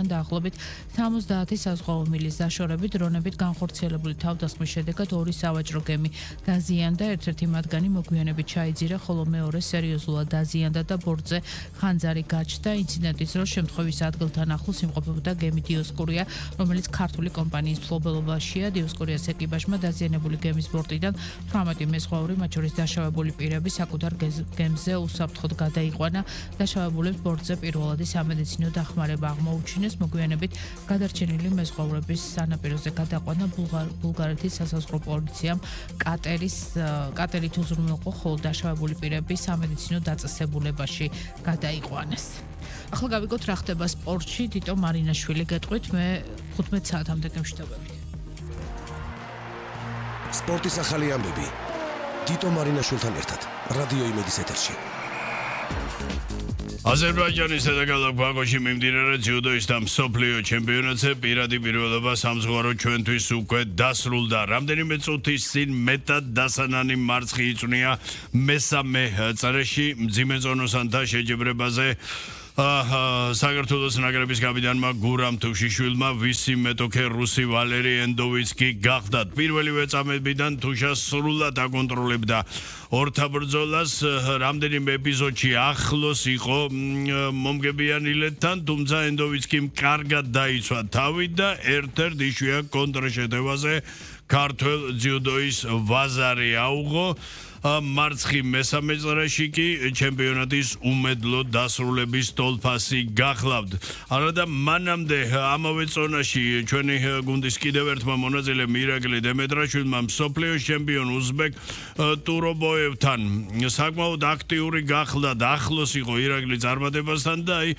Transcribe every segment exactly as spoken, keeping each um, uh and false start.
მილიონიდან დაახლოებით სამოცდაათი საზღვაო მილის დაშორებით დრონებით განხორციელებული თავდასხმის შედეგად ორი სავაჭრო გემი დაზიანდა, ერთ-ერთი მათგანი მოგვიანებით ჩაიძირა, ხოლო მეორე სერიოზულად დაზიანდა და ბორტზე ხანძარი გაჩნდა. ინციდენტის დროს შემთხვევის ადგილთან ახლოს იმყოფებოდა გემი დიოსკურია, რომელიც ქართული კომპანიის მფლობელობაშია. დიოსკურიას ეკიპაჟმა დაზიანებული გემის ბორტიდან თვრამეტი მეზღვაური, მათ შორის დაშავებული პირები საკუთარ გემზე უსაფრთხოდ გადაიყვანა. დაშავებულებს ბორტზე პირველადი სამედიცინო დახმარება აღმოუჩინეს. მოგვიანებით გადარჩენილი მეზღვაურების სანაპიროზე გადაყვანა ბულგარეთის სასაზღვრო პოლიციამ კატერის კატერით უზრუნველყო, ხოლო დაშავებული პირები სამედიცინო დაწესებულებაში გადაიყვანეს. ახლა გავიგოთ რა ხდება სპორტში. თიტო მარინაშვილი გეტყვით, მე ხუთმეტ საათამდე გემშვიდობებით. სპორტის ახალი ამბები თიტო მარინაშვილთან ერთად რადიო იმედის ეთერში. აზერბაიჯანის დედაქალაქ ბაქოში მიმდინარე ძიუდოის და მსოფლიო ჩემპიონატზე პირადი პირველობა სამზღვარო ჩვენთვის უკვე დასრულდა. რამდენიმე წუთის წინ მეტად დასანანი მარცხი იწვნია მესამე წრეში მძიმე ზონოსანთა შეჯიბრებაზე. საქართველოს ნაკრების კაპიტანმა გურამ თუშიშვილმა ვისი მეტოქე რუსი ვალერი ენდოვიცკი გახდათ. პირველივე წამებიდან თუშა სრულად აკონტროლებდა ორთა ბრძოლას. რამდენიმე ეპიზოდში ახლოს იყო მომგებიანილეთთან, თუმცა ენდოვიცკიმ კარგად დაიცვა თავი და ერთ-ერთ იშვიათ კონტრშეტევაზე ქართველ ძიუდოის ვაზარი აუღო. მარცხი მესამე წრეში კი ჩემპიონატის უმედლო დასრულების თოლფასი გახლავთ. არადა მანამდე ამავე ზონაში ჩვენი გუნდის კიდევ ერთმა მონაწილემ ირაკლი დემეტრაშვილმა მსოფლიოს ჩემპიონ უზბეკ ტურობოევთან საკმაოდ აქტიური გახდა და ახლოს იყო ირაკლი წარმატებასთან და აი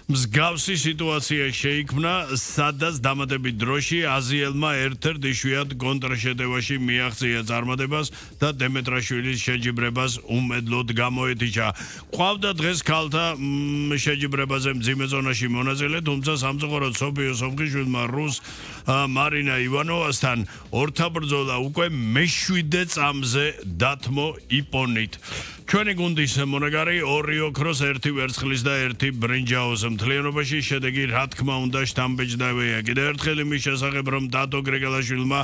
მსგავსი სიტუაცია შეიქმნა, სადაც დამატებით დროში აზიელმა ერთ-ერთ იშვიათ კონტრშეტევაში მიაღწია წარმატებას და დემეტრაშვილის შეჯიბრებას უმედლოდ გამოეთიშა. ყავდა დღეს ქალთა შეჯიბრებაზე მძიმე ზონაში მონაწილე, თუმცა სამწუხაროდ სოფიო სოფღიშვილმა რუს მარინა ივანოვასთან ორთა ბრძოლა უკვე მეშვიდე წამზე დათმო იპონით. ჩვენი გუნდის მონაგარი ორი ოქროს, ერთი ვერცხლის და ერთი ბრინჯაოს მთლიანობაში შედეგი რა თქმა უნდა შთამბეჭდავია. კიდევ ერთხელ იმის შესახებ, რომ დატო გრიგალაშვილმა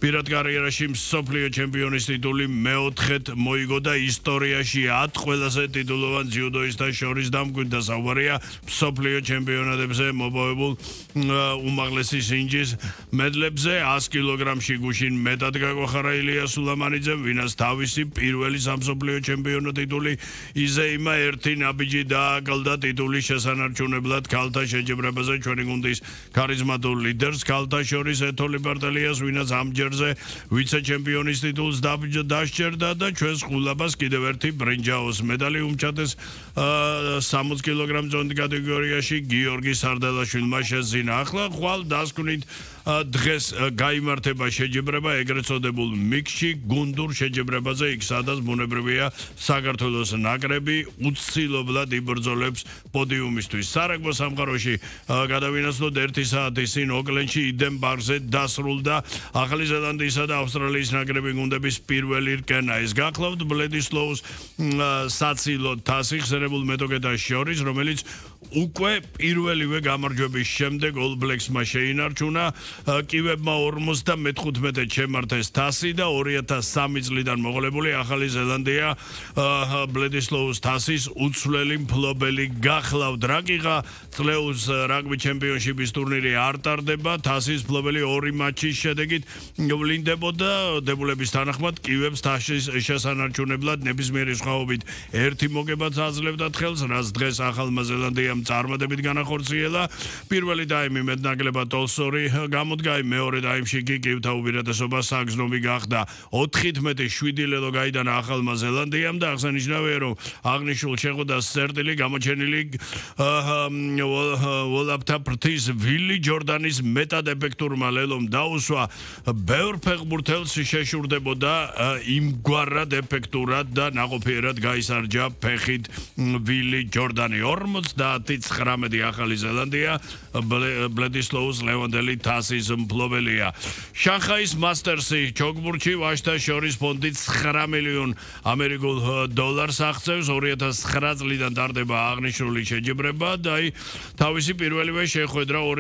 პირად კარიერაში მსოფლიო ჩემპიონის ტიტული მეოთხედ მოიგო და ისტორიაში ათ ყველაზე ტიტულოვან ძიუდოისტთა შორის დამკვიდრდა საუბარია მსოფლიო ჩემპიონატებზე მოპოვებულ უმაღლესი სინჯის მედლებზე. ას კილოგრამში გუშინ მეტად გაგვახარა ილია სულამანიძემ, ვინაც თავისი პირველი სამსოფლიო ჩემპიონი ტიტული იზეიმა ერთი ნაბიჯი დააკლდა ტიტულის შესანარჩუნებლად ქალთა შეჯიბრებაზე ჩვენი გუნდის ქარიზმატულ ლიდერს ქალთა შორის ეთოლი პარტელიას, ვინაც ამჯერზე ვიცე-ჩემპიონის ტიტულს დასჯერდა და ჩვენს ყულაბას კიდევ ერთი ბრინჯაოს მედალი უმჩათეს სამოცი კილოგრამ ზონდი კატეგორიაში გიორგი სარდალაშვილმა შესძინა. ახლა ხვალ დასკვნით დღეს გაიმართება შეჯიბრება ეგრეთ წოდებულ მიქსში გუნდურ შეჯიბრებაზე, იქ სადაც ბუნებრივია საქართველოს ნაკრები უცილობლად იბრძოლებს პოდიუმისთვის. სარაგბო სამყაროში გადავინაცვლოთ ერთი საათი წინ ოკლენდში იდენ პარკზე დასრულდა ახალი ზელანდიისა და ავსტრალიის ნაკრები გუნდების პირველი რკენა. ეს გახლავთ ბლედისლოუს საცილო თასი ხსენებულ მეტოქეთა შორის, რომელიც უკვე პირველივე გამარჯვების შემდეგ All Blacks-მა შეინარჩუნა. კივებმა ორმოცდამეხუთმეტედ შემართეს თასი და ორი ათას სამი წლიდან მოყოლებული ახალი ზელანდია ბლედისლოუს თასის უცვლელი მფლობელი გახლავთ. რაკიღა წლეულის რაგბი ჩემპიონშიპის ტურნირი არ ტარდება, თასის მფლობელი ორი მატჩის შედეგით ვლინდებოდა. დებულების თანახმად კივებს თასის შესანარჩუნებლად ნებისმიერი სხვაობით ერთი მოგებაც აძლევდათ ხელს, რაც დღეს ახალმა ზელანდიამ წარმატებით განახორციელა. პირველი დაიმი მეტნაკლებად ოლსორი გამოდგა, მეორე დაიმში კი კივთა უპირატესობა საგზნობი გახდა. ოთხმეტი შვიდი ლელო გაიტანა ახალმა ზელანდიამ და აღსანიშნავია, რომ აღნიშნულ შეხვედრას სერტილი გამოჩენილი ვოლაპთა ფრთის ვილი ჯორდანის მეტად ეფექტურმა ლელომ დაუსვა. ბევრ ფეხბურთელს შეშურდებოდა იმგვარად ეფექტურად და ნაყოფიერად გაისარჯა ფეხით ვილი ჯორდანი. ორმოცდათი ახალი ზელანდია ბლედისლოუს ლევანდელი თასის მფლობელია. შანხაის მასტერსი ჩოგბურთში ვაჟთა შორის ფონდი ცხრა მილიონ ამერიკულ დოლარს აღწევს. ორი ათას ცხრა წლიდან ტარდება აღნიშნული შეჯიბრება და აი თავისი პირველივე შეხვედრა ორი